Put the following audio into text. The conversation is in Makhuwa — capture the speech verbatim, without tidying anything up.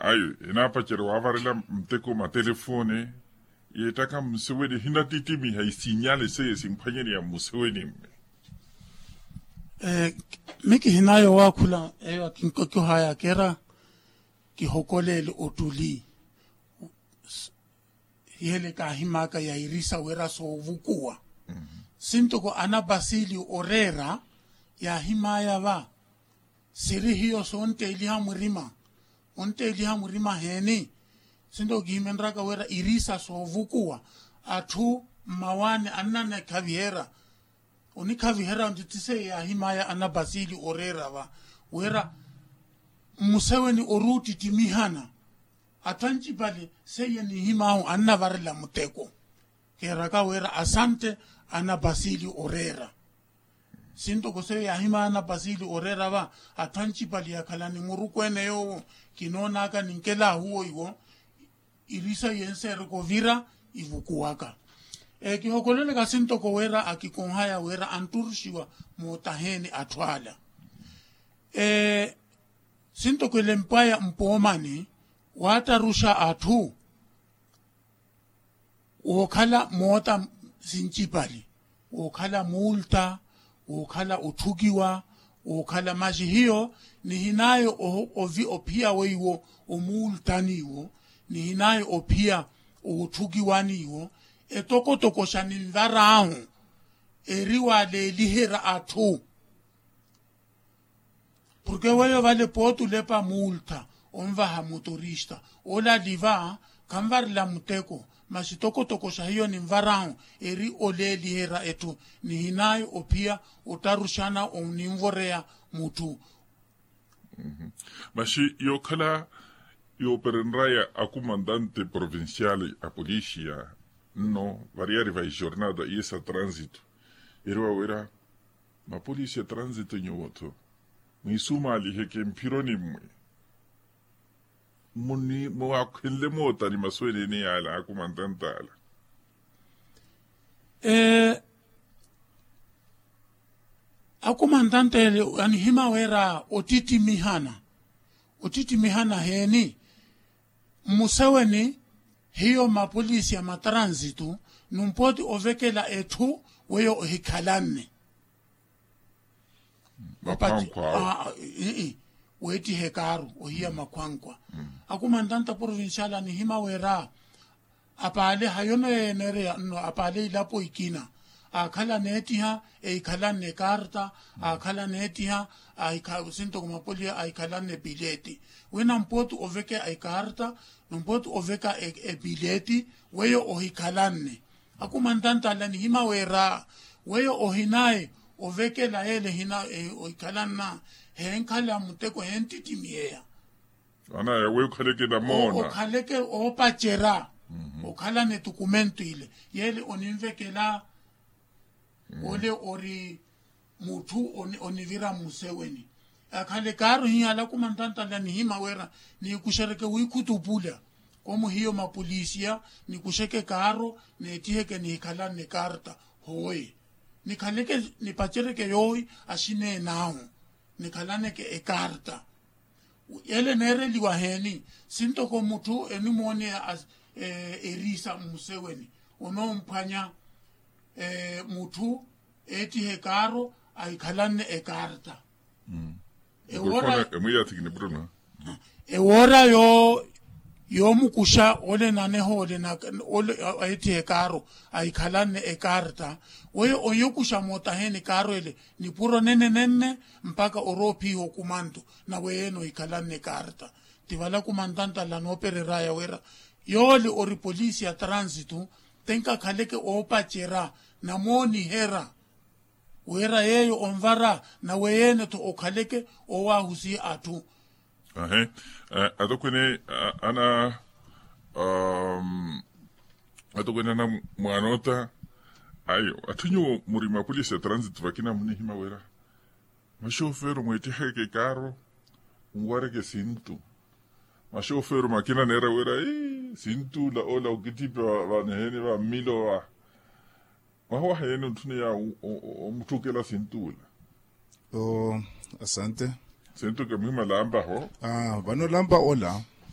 Ayo enaapacerya waavarela muteko matelefone. Yeettaka mmuseweni ehinattittimiha isinyale seiye simphwanyereya mmuseweni mme. Mikihinaya owaakhula eyo akinkokiho aya akeera kihokoleele ottuli. Hiyele kaahimaka ya irisa wira soovukuwa. Sintoko ana basili oreera yaahimaya va siri hiyo sontteeliha murima. Ontteeliha murima heeni? Sintoko kihimenryaka wira irisa soovukuwa atthu mmawaani annanekhaviherya. Onikhaviherya ntitti seiya yaahimaya ana basili oreera va wira mmuseweni ori ottittimihana. Atthu ancipale seiya nihimahu annavarela muteko. Keeraka wira asante ana basili oreera. Sintoko seiya yaahimaya ana basili oreera va atthu ancipale yakhalani murukweene yoowo kinoonaka ninkelahu oiwo. Irisa yenseereka ovira ivukuwaka. Kihokololeka sintoko wira akikonhaya wira antturuxiwa mootaheeni atthu ala. Sintoko elempwaya mpoomani waattaruxa atthu wookhala moota sincipali, wookhala muulta, wookhala otthukiwa, wookhala maxi hiyo nihinaayo ophiya weiwo omuultaniiwo, nihinaayo ophiya ootthukiwaniiwo. Etokotokoxa ninvar'ahu eri waaleeliherya atthu. Porke weyo vale pooti olepa muulta onvaha motorista olali va khanvarela muteko. Masi tokotokoxa hiyo ninvar'ahu eri oleeliherya etthu nihinaayo ophiya ottaruxana oninvoreya mutthu. Masi yookhala yooperenraya akumantante provincial a polisia nno variyari va ijornada iye sa transito eri wawira mapolisi a transito nyuwo-tho mwiisumaliheke mphironi mmwe. Muni mwaakhenle mootani masu eneene yaala akumantante ala? Akumantante ele anihima wira ottittimihana. Ottittimihana heeni? Mmuseweni hiyo mapolisi a matransitu numpooti ovekela etthu weyo ohikhalanne. Weettiha ekaaru ohiya makhwankwa. Akumantanta provincial anihima wira apaale hayono yeeneereya nno apaale ilapo ikina aakhala aneettiha eikhalanne ekaarta, aakhala aneettiha sintoko mapolisi ahikhalanne epileeti. Wina mpooti oveka ekaarta, numpooti oveka epileeti weyo ohikhalanne. Akumantanta ala nihima wira weyo ohinayi ovekela yeele ohikhalanna henkhala muteko henttittimiheya. Anaya weyo okhaleke namoona okhaleke oopacerya okhalana etukumento ile yeele oninvekela. Ole ori mutthu onivira mmuseweni. Akhala ekaaru hihala akumantanta ala nihima wira niikuxereke wiikhutupula komu hiyo mapolisiya nikuxeke ekaaru neettiheke nihikhalanne ekaarta. Hooye nikhaleke nipaceryeke yoohi axineen'ahu nikhalaneke ekaarta. Ele neereliwa heeni? Sintoko mutthu enimooneya eriisa mmuseweni onoomphwanya mutthu eettiha ekaaro ahikhalanne ekaarta. Ewoora yoomukuxa ole naneho ole eettiha ekaaro ahikhalanne ekaarta. Weyo oyokuxa mootaheeni ekaaro ele nipuro nenenenne mpakha oroophiha okumantu. Naweyeene ohikhalanne ekaarta. Ti vala kumantantala noopereraya wira yoole ori polisi ya transitu tenkakhaleke oopacerya namooniherya wira yeeyo onvara naweyeene-tho okhaleke owaahusiha atthu. Ahe atokwene ana atokwene ana mwaanoota ayo atthu nyuwo muri mapolisi ya transitu vakina munihima wira maxofero mweettiheke ekaaro nwareke sintu. Maxofero makina neera wira sintu ola ola okittipya vaniheni va mmilo va mwaha waha yeene ontthuniya omutthukela sintu ola. Asante. Sintu ke muhima lampaho. Vano lampa ola